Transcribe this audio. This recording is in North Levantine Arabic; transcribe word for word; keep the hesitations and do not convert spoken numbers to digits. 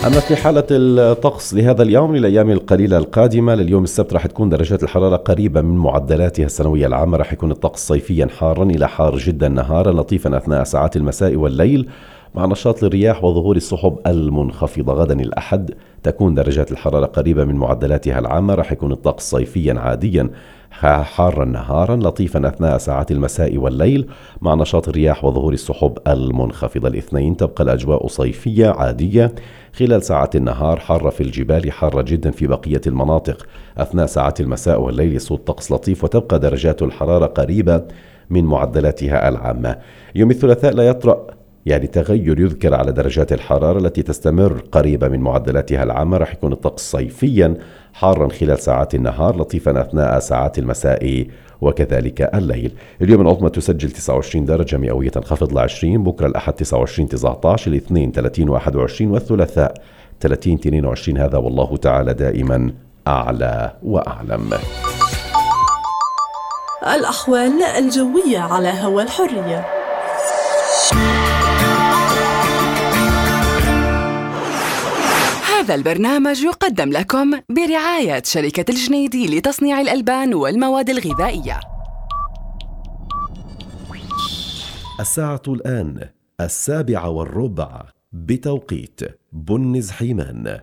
أما في حالة الطقس لهذا اليوم للأيام القليلة القادمة، لليوم السبت رح تكون درجات الحرارة قريبة من معدلاتها السنوية العامة. رح يكون الطقس صيفيا حارا إلى حار جدا نهارا، لطيفا أثناء ساعات المساء والليل مع نشاط للرياح وظهور السحب المنخفضة. غدا الأحد تكون درجات الحرارة قريبة من معدلاتها العامة. رح يكون الطقس صيفيا عاديا حارا نهارا، لطيفا أثناء ساعات المساء والليل مع نشاط الرياح وظهور السحب المنخفضة. الاثنين تبقى الأجواء صيفية عادية خلال ساعات النهار، حارة في الجبال، حارة جدا في بقية المناطق. أثناء ساعات المساء والليل يسود طقس لطيف وتبقى درجات الحرارة قريبة من معدلاتها العامة. يوم الثلاثاء لا يطرأ يعني تغير يذكر على درجات الحرارة التي تستمر قريبة من معدلاتها العامة. رح يكون الطقس صيفيا حارا خلال ساعات النهار، لطيفا أثناء ساعات المساء وكذلك الليل. اليوم العظمى تسجل تسعة وعشرين درجة مئوية، تنخفض ل عشرين. بكرة الأحد تسعة وعشرين تسعة عشر، الاثنين ثلاثين واحد وعشرين، والثلاثاء ثلاثين اثنين وعشرين. هذا والله تعالى دائما أعلى وأعلم. الأحوال الجوية على هوا الحرية. هذا البرنامج يقدم لكم برعاية شركة الجنيدي لتصنيع الألبان والمواد الغذائية. الساعة الآن السابعة والربع بتوقيت بنز حيمان.